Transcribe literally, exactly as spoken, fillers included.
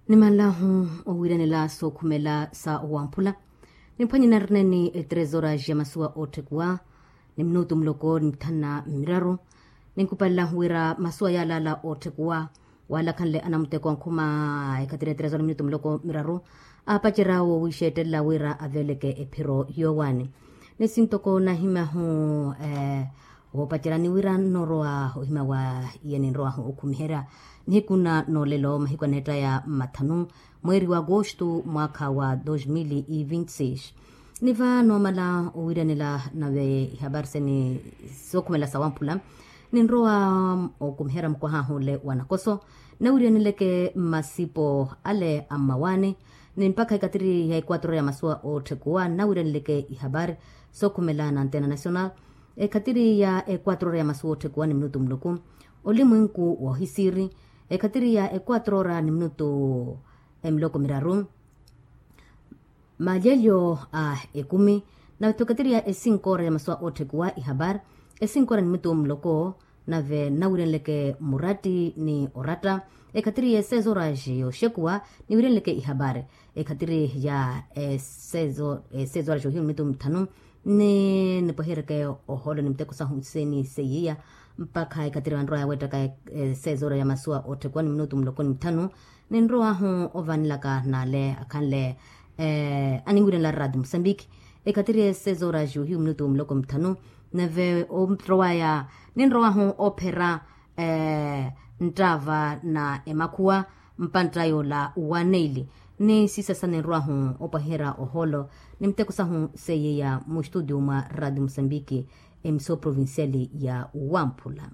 Nimanlahu owiiranela sookhumela sa owamphula. Nimphwanye narineni etresora ja masuwa ootthekuwa ni minutu muloko ni mithanu na miraru. Ninkupallahu wira masuwa yalaala ootthekuwa walakhanle anamuteko ankhuma ekhatiri etresora ni minutu muloko miraru, aapacerya awo wiixeettelela wira aveeleke ephiro yoowaani. Ni sintoko nahimahu woopacerya ni wira nnorowa ohima wa iya ninrowahu okhumiherya nihiku na noolelo mahiku aneettaya mathanu mweeri wa agosto mwaakha wa dos mil e vinte seis. Ni va noomala owiiranela nave ihapari sene sookhumela sawamphula, ninrowa okumiherya mukwaha ahule wa nakoso nawiiraneleke mmasipo ale a mmawaani. Ni mpakha ekatiri ya ekwatro ya masuwa ootthekuwa nawiiraneleke ihapari sookhumela na antena national. Ekhatiri ya ekwatro ora ya masuwa ootthekuwa ni minutu muloko, olimwenku wohisiiri. Ekhatiri ya ekwatro ora ni minutu emiloko miraru, malyelyo a ekumi. Navetho ekhatiri ya esinko ora ya masuwa ootthekuwa ihapari, esinko ora ni minutu muloko nave nawiirenleke muratti ni oratta. Ekhatiri ya esezo ora yoxekuwa niwiirenleke ihapari. Ekhatiri ya esezo ora yohiyu ni minutu mithanu, ni nipwehereke oholo ni miteko sahu seni seiya mpakha ekhatiri vanrowa yaweettaka esezo ora ya masuwa ootthekuwa ni minutu muloko ni mithanu. Ninrowahu ovanelaka n'ale akhanle aniwiirenla rati musambiki. Ekhatiri esezo ora yohiyu minutu muloko mithanu, nave onrowaya ninrowahu ophera nttaava na emakhuwa mpantta yoola wa neili. Ni sisasa ninrowahu opwaherya oholo ni miteko sahu seiya mustudio mwa rati musambiki, emisoo provinciali ya wamphula.